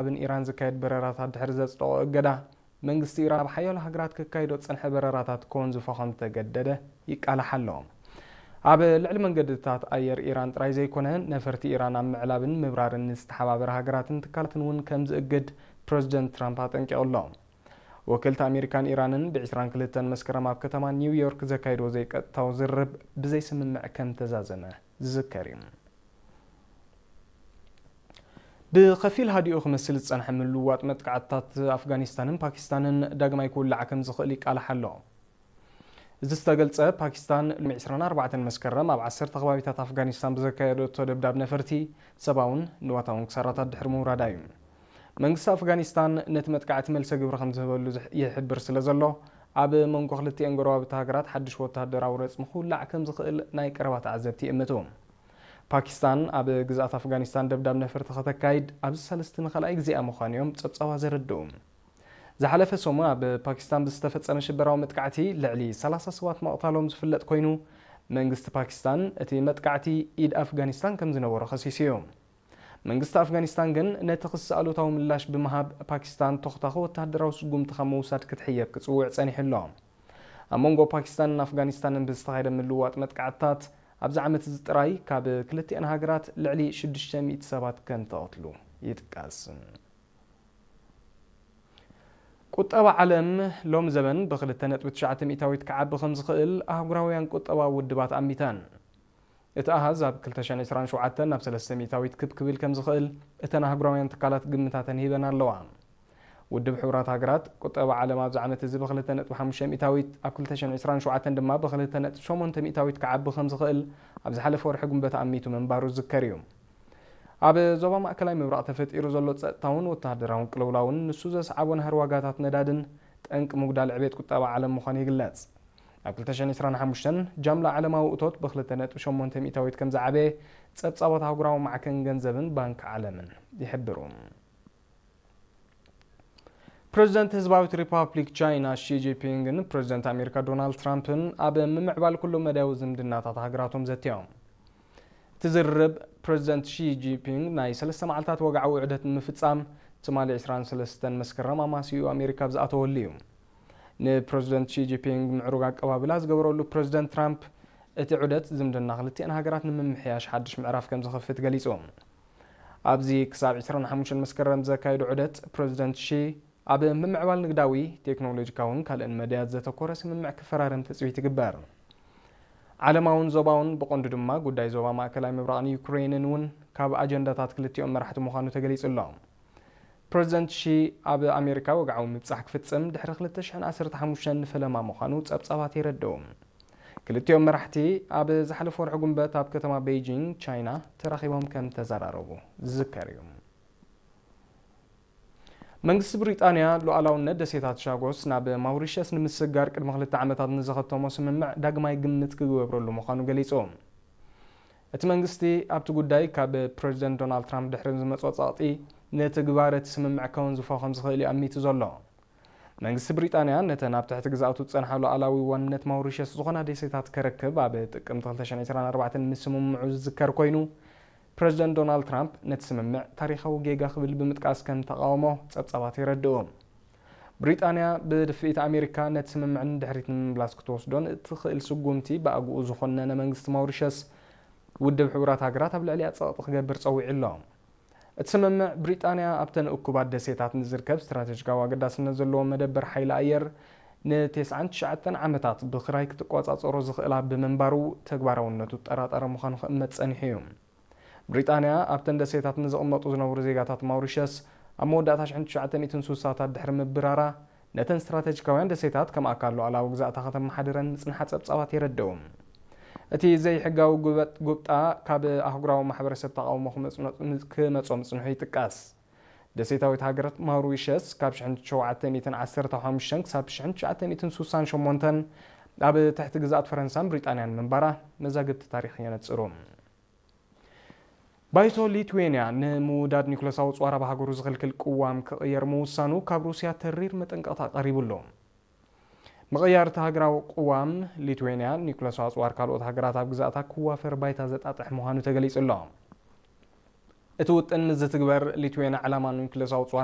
ብን ኢራን ዝካየድ በረራታት ድሕሪ ዘጽደቖ እገዳ፣ መንግስቲ ኢራን ኣብ ሓያሎ ሃገራት ክካየዶ ዝጸንሐ በረራታት ክወንዝፎ ከም ዝተገደደ ይቃላሕ ኣሎ። ኣብ ልዕሊ መንገድታት ኣየር ኢራን ጥራይ ዘይኮነ፣ ነፈርቲ ኢራን ኣብ ምዕላብን ምብራርን ንዝተሓባበረ ሃገራትን ትካላትን እውን ከም ዝእግድ ፕረዚደንት ትራምፕ ኣጠንቂቑ ኣሎ። ወከልቲ ኣሜሪካን ኢራንን ብ22 መስከረም ኣብ ከተማ ኒውዮርክ ዘካየድዎ ዘይቀጥታዊ ዝርርብ ብዘይስምምዕ ከም ተዛዘመ ዝዝከር እዩ። ብኸፊል ሃዲኡ ክመስል ዝጸንሐ ምልውዋጥ መጥቃዕትታት ኣፍጋኒስታንን ፓኪስታንን ዳግማይ ክውላዕ ከም ዝኽእል ይቃላሕ ኣሎ። እዚ ዝተገልጸ፣ ፓኪስታን ሎሚ 24 መስከረም ኣብ 10 ከባቢታት ኣፍጋኒስታን ብዘካየደቶ ደብዳብ ነፈርቲ ሰብኣውን ንዋታውን ክሳራታት ድሕሪ ምውራዳ እዩ። መንግስቲ ኣፍጋኒስታን ነቲ መጥቃዕቲ መልሰ ግብሪ ከም ዝህበሉ ዝሕ- ይሕብር ስለ ዘሎ፣ ኣብ መንጎ ክልቲኤን ጎረባብቲ ሃገራት ሓድሽ ወተሃደራዊ ረጽሚ ክውላዕ ከም ዝኽእል ናይ ቀረባ ተዓዘብቲ ይእምቱ። ፓኪስታን ኣብ ግዝኣት ኣፍጋኒስታን ደብዳብ ነፈርቲ ከተካይድ ኣብዚ ሳልስቲ ንኻልኣይ ግዜኣ ምዃኑ እዮም ጸብጻባት ዘረድኡ። ዝሓለፈ ሰሙን ኣብ ፓኪስታን ብዝተፈጸመ ሽበራዊ መጥቃዕቲ ልዕሊ 30 ሰባት ምቕታሎም ዝፍለጥ ኮይኑ፣ መንግስቲ ፓኪስታን እቲ መጥቃዕቲ ኢድ ኣፍጋኒስታን ከም ዝነበሮ ከሲሱ እዩ። መንግስቲ ኣፍጋኒስታን ግን ነቲ ክሲ ኣሉታዊ ምላሽ ብምሃብ፣ ፓኪስታን ተኹታኺ ወተሃደራዊ ስጉምቲ ካብ ምውሳድ ክትሕየብ ክጽውዕ ጸኒሑ ኣሎ። ኣብ መንጎ ፓኪስታንን ኣፍጋኒስታንን ብዝተኻየደ ምልውዋጥ መጥቃዕትታት፣ ኣብዚ ዓመት እዚ ጥራይ ካብ ክልቲኣን ሃገራት ልዕሊ 600 ሰባት ከም ተቐትሉ ይጥቀስ። ቁጠባ ዓለም ሎም ዘበን ብ2.9 ሚእታዊት ክዓቢ ከም ዝኽእል ኣህጉራውያን ቁጠባዊ ውድባት ኣሚተን። እቲ ኣሃዝ ኣብ 2027 ናብ 3 ሚእታዊት ክብ ክብል ከም ዝኽእል እተን ኣህጉራውያን ትካላት ግምታተን ሂበን ኣለዋ። ውድብ ሕቡራት ሃገራት፣ ቁጠባ ዓለም ኣብዚ ዓመት እዚ ብ2.5 ሚእታዊት፣ ኣብ 2027 ድማ ብ2.8 ሚእታዊት ክዓቢ ከም ዝኽእል ኣብ ዝሓለፈ ወርሒ ጉንበት ኣሚቱ ምንባሩ ዝዝከር እዩ። ኣብ ዞባ ማእከላይ ምብራቕ ተፈጢሩ ዘሎ ጸጥታውን ወተሃደራውን ቅልውላውን ንሱ ዘስዓቦ ናህሪ ዋጋታት ነዳድን ጠንቂ ምጉዳል ዕቤት ቁጠባ ዓለም ምዃኑ ይግለጽ። ኣብ 2025 ጃምላ ዓለማዊ እቶት ብ2.8 ሚእታዊት ከም ዝዓበየ ጸብጻባት ኣህጉራዊ ማዕከን ገንዘብን ባንክ ዓለምን ይሕብሩ። ፕረዚደንት ህዝባዊት ሪፓብሊክ ቻይና ሺ ጂንፒንግን ፕረዚደንት ኣሜሪካ ዶናልድ ትራምፕን ኣብ ምምዕባል ኩሉ መዳያዊ ዝምድናታት ሃገራቶም ዘትዮም። እቲ ዝርርብ፣ ፕረዚደንት ሺ ጂንፒንግ ናይ ሰለስተ መዓልታት ወግዓዊ ዑደት ንምፍጻም ትማሊ 23 መስከረም ኣማስይኡ ኣሜሪካ ኣብ ዝኣተወሉ እዩ። ንፕረዚደንት ሺ ጂንፒንግ ምዕሩግ ኣቀባብላ ዝገበረሉ ፕረዚደንት ትራምፕ፣ እቲ ዑደት ዝምድና ክልቲኣን ሃገራት ንምምሕያሽ ሓድሽ ምዕራፍ ከም ዝኸፍት ገሊጹ። ኣብዚ ክሳብ 25 መስከረም ዘካየዱ ዑደት፣ ፕረዚደንት ሺ ኣብ ምምዕባል ንግዳዊ፣ ቴክኖሎጂካውን ካልእን መዳያት ዘተኮረ ስምምዕ ክፈራረም ትጽቢት ይግበር። ዓለማውን ዞባውን፣ ብቐንዱ ድማ ጉዳይ ዞባ ማእከላይ ምብራቕን ዩክሬንን እውን ካብ ኣጀንዳታት ክልቲኦም መራሕቲ ምዃኑ ተገሊጹ ኣሎ። ፕረዚደንት ሺ ኣብ ኣሜሪካ ወግዓዊ ምብጻሕ ክፍጽም ድሕሪ 2015 ንፈለማ ምዃኑ ጸብጻባት የረድኡ። ክልቲኦም መራሕቲ ኣብ ዝሓለፈ ወርሒ ጉንበት ኣብ ከተማ ቤይጂንግ ቻይና ተራኺቦም ከም ተዘራረቡ ዝዝከር እዩ። መንግስቲ ብሪጣንያ ሉዓላውነት ደሴታት ሻጎስ ናብ ማውሪሸስ ንምስግጋር ቅድሚ ክልተ ዓመታት ንዝኸተሞ ስምምዕ ዳግማይ ግምት ክግበረሉ ምዃኑ ገሊጹ። እቲ መንግስቲ ኣብቲ ጉዳይ ካብ ፕረዚደንት ዶናልድ ትራምፕ ድሕሪ ዝመጾ ጸቕጢ ንትግባረ እቲ ስምምዕ ከወንዝፎ ከም ዝኽእል እዩ ኣሚቱ ዘሎ። መንግስቲ ብሪጣንያ ነተን ኣብ ትሕቲ ግዝኣቱ ዝጸንሓ ሉዓላዊ ዋንነት ማውሪሸስ ዝኾና ደሴታት ከረክብ ኣብ ጥቅምቲ 2024 ምስምምዑ ዝዝከር ኮይኑ፣ ፕረዚደንት ዶናልድ ትራምፕ ነቲ ስምምዕ ታሪኻዊ ጌጋ ክብል ብምጥቃስ ከም ተቃውሞ ጸብጻባት የረድኡ። ብሪጣንያ ብድፍኢት ኣሜሪካ ነቲ ስምምዕ ንድሕሪት ንምምላስ ክትወስዶን እትኽእል ስጉምቲ ብኣግኡ ዝኾነነ መንግስቲ ማውሪሸስ ውድብ ሕቡራት ሃገራት ኣብ ልዕሊኣ ጸቕጢ ክገብር ጸዊዑ ኣሎ። እቲ ስምምዕ ብሪጣንያ ኣብተን እኩባት ደሴታት ንዝርከብ ስትራቴጂካዊ ኣገዳስነት ዘለዎ መደበር ሓይሊ ኣየር ን99 ዓመታት ብኽራይ ክትቆጻጸሮ ዝኽእላ ብምንባሩ ተግባራውነቱ ጠራጠረ ምዃኑ ክእመት ጸኒሑ እዩ። ብሪጣንያ ኣብተን ደሴታት ንዝቕመጡ ዝነብሩ ዜጋታት ማውሪሸስ ኣብ መወዳእታ 1960ታት ድሕሪ ምብራራ ነተን ስትራቴጂካውያን ደሴታት ከም ኣካል ሉዓላዊ ግዛእታ ከተመሓድረን ምጽንሓ ጸብጻባት የረድኡ። እቲ ዘይሕጋዊ ጉበጥ ጉብጣ ካብ ኣህጉራዊ ማሕበረሰብ ተቃውሞ ክመጽኖ- ክመጾ ምጽንሑ ይጥቀስ። ደሴታዊት ሃገር ማውሪሸስ ካብ 1915 ክሳብ 1968 ኣብ ትሕቲ ግዝኣት ፈረንሳን ብሪጣንያን ምንባራ መዛግብቲ ታሪኽ የነጽሩ። ባይቶ ሊትዌንያ ንምውዳድ ኒኩለሳዊ ኣጽዋር ኣብ ሃገሩ ዝኽልክል ቅዋም ክቕየር ምውሳኑ ካብ ሩስያ ተሪር መጠንቀቕታ ቀሪቡ ኣሎ። ምቕያር እቲ ሃገራዊ ቅዋም፣ ሊትዌንያ ኒኩለሳዊ ኣጽዋር ካልኦት ሃገራት ኣብ ግዛእታ ክዋፈር ባይታ ዘጣጥሕ ምዃኑ ተገሊጹ ኣሎ። እቲ ውጥን ንዝትግበር ሊትዌና ዕላማ ኒውክለሳዊ ጾር